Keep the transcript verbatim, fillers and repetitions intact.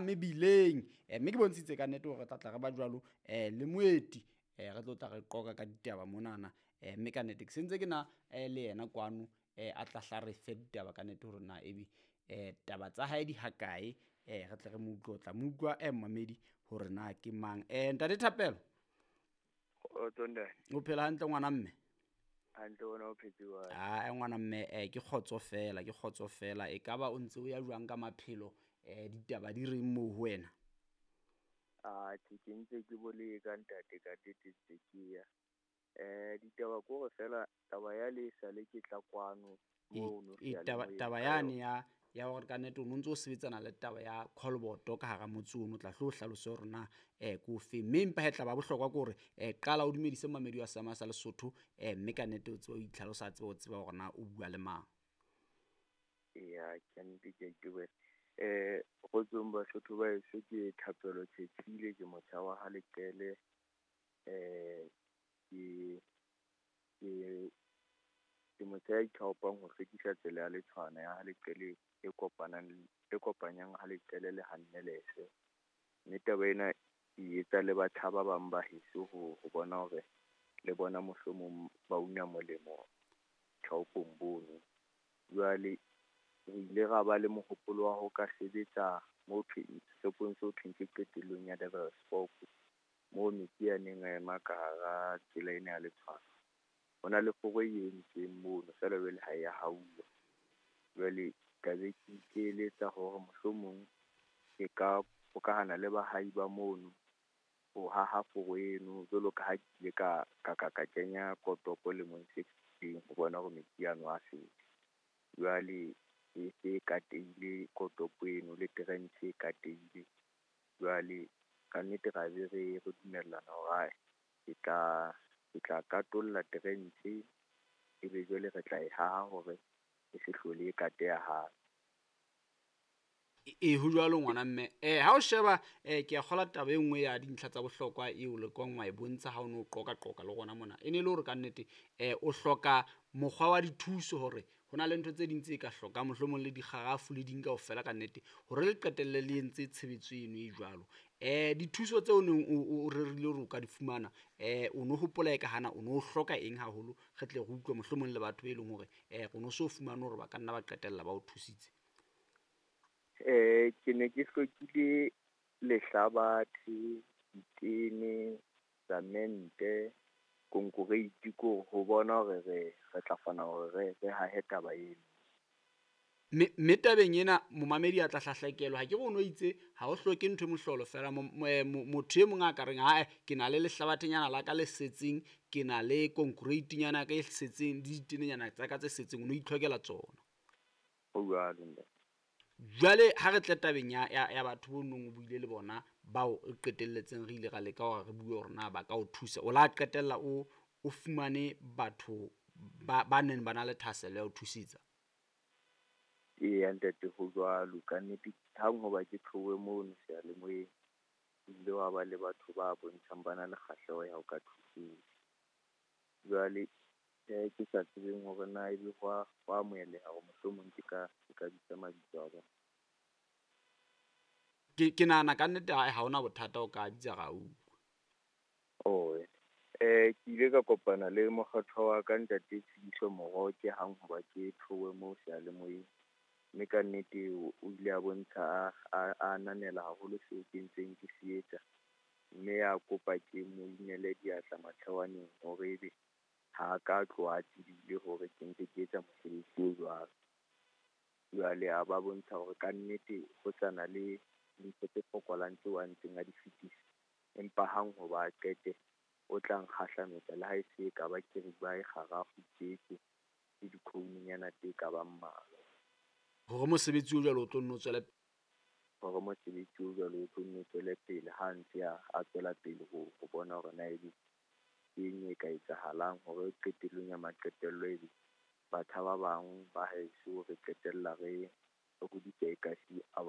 mebileng. Eh, mme ke bontshitse ka nnete hore re tla tla re ba jwalo eh, le moeti eh, re tlo tla re qoqa ka ditaba monana. Eh, mme ka nnete ke sentse ke na eh, le yena kwano eh, a tla hla re fe ditaba ka nnete hore na ebe eh, taba tsa hae di hakae, eh, re tle re mo utlwe. O tla mo utlwa eh, mmamedi hore na ke mang. Eh, ntate Thapelo, Kgotso ntate. O phela hantle ngwana mme? Hantle, wena o phetse jwang? Ah, ngwana mme, eh, ke kgotso fela, ke kgotso fela. E kaba o ntse o ya jwang ka maphelo, eh, ditaba di reng moo ho wena? Ah, ke ke ntse ke boleka ntate, ka nnete ntse ke ya. Eh, ditaba ke hore fela taba ya le sale ke tla kwano E, mono e, taba, seyalemoyeng taba ka yane yona. ya ya hore ka nnete o no ntso o sebetsana le taba ya callboto ka hara motse ono, o tla hlo o hlalose hore na eh ke ofe. Mme empa he tla ba bohlokwa ke hore eh qala o dumedise mamedi wa Sama sa Lesotho, eh mme ka nnete o tsebe o itlhalosa, a tsebe o tseba hore na o bua le mang. Eya, ke nnete ke a itebohela. Eh, kgotsong Basotho ba heso, ke Thapelo Tshetsile, ke motjha wa ha Leqele. Eh, ke ke ke motjha ya ithaopang ho hlwekisa tsela ya Letshwana ya ha Leqele e kopanang e kopanyang ha Leqele le ha Nnelese. Mme taba ena ke etsa le batjha ba bang ba heso ho ho bona hore le bona mohlomong ba una molemo thaopong bono. Jwale re ile ra ba le mohopolo wa ho ka sebetsa mo thweng shopong seo thweng ke qetellong ya Devil's Fork, moo metsi a neng a ema ka hara tsela ena ya Letshwana. Ho na le foro e entsweng mono feela jwale ha ya hauwa. Jwale ka be ke ikeletsa hore mohlomong ke ka hokahana le baahi ba mono ho haha foro eno, jwalo ka ha ke ile ka ka ka ka kenya kotopo lemong se fetileng ho bona hore metsi ano a feta. Jwale e se e katehile kotopo eno le trench e katehile. Jwale ka nnete ra be re re dumellana hore ae ke tla ke tla katolla trench, ebe jwale re tla e haha hore e se hlole e kateha hape. E ho jwalo ngwana mme. Eh ha o sheba eh ke a kgola taba e nngwe ya dintlha tsa bohlokwa eo le kwang wa e bontsha ha o no qoqa qoqa le rona mona. E ne le hore ka nnete eh o hloka mokgwa wa dithuso hore ho na le ntho tse ding tse ka hlokang mohlomong le dikgarafu le ding kaofela ka nnete hore le qetelle le entse tshebetso eno e jwalo. Eh dithuso tseo neng o o rerile hore o ka di fumana, eh o no hopola e ka hana o no hloka eng haholo, re tle re utlwe mohlomong le batho be leng hore eh o no so fumane hore ba ka nna ba qetella ba o thusitse. Eh, ke ne ke hlokile lehlabathe, ditene, samente, konkoreiti ko ho bona hore re re tla kgona hore re re hahe taba eno. Mme mme tabeng ena momamedi a tla hlahlakelwa, ha ke re o no itse ha o hloke ntho e mohlolo fela, motho e mong a ka reng ae ke na le lehlabathenyana la ka le setseng, ke na le konkoreitinyana ya ka e setseng le ditenenyana tsa ka tse setseng, o no itlhokela tsona. Ho jwalo ntate. Jwale ha re tle tabeng ya, ya, ya batho bo nong o buile le bona bao re qetelletseng re ile ra leka hore re bue hore na ba ka o thusa, o la qetella o o fumane batho ba ba neng ba na le thahasello ya ho thusetsa? Eya ntate, ho jwalo ka nnete. Hang hoba ke tlohe mono seyalemoyeng, ho ile wa ba le batho ba bontshang ba na le kgahleho ya ho ka thusetsa. Jwale eh ke sa tsebeng hore na ebe ho a ho amoheleha hore mohlomong ke ka ke ka bitsa mabitso a bona. Ke ke nahana ka nnete ha hona bothata o ka bitsa ra utlwa. Oh, eh ke ile ka kopana le mokgatho wa ka ntate Tshidiso Moroke hang hoba ke tlohe moo seyalemoyeng. Mme ka nnete o ile a bontsha a a ananela haholo seo ke ntseng ke se etsa. Mme a kopa ke mo inele diatla mathewaneng hore ebe ha ka tloha a tsebile hore ke ntse ke etsa mosebetsi o jwalo. Jwale a ba bontsha hore ka nnete ho sa na le dintho tse fokolang tseo a ntseng a di fetisa. Empa hang hoba a qete, o tla nkgahlametsa le ha e se e ka ba keriba e kgarafu tjeke le dikhoununyana tse ka bang mmalwa. Hore mosebetsi o jwalo o tlo nno tswele Hore mosebetsi o jwalo o tlo nno tswele pele ha ntse a a tswela pele ho ho bona hore na ebe eng e ka etsahalang hore qetellong ya maqetello ebe batjha ba bang ba heso re qetella re re hodisa ekasi a ba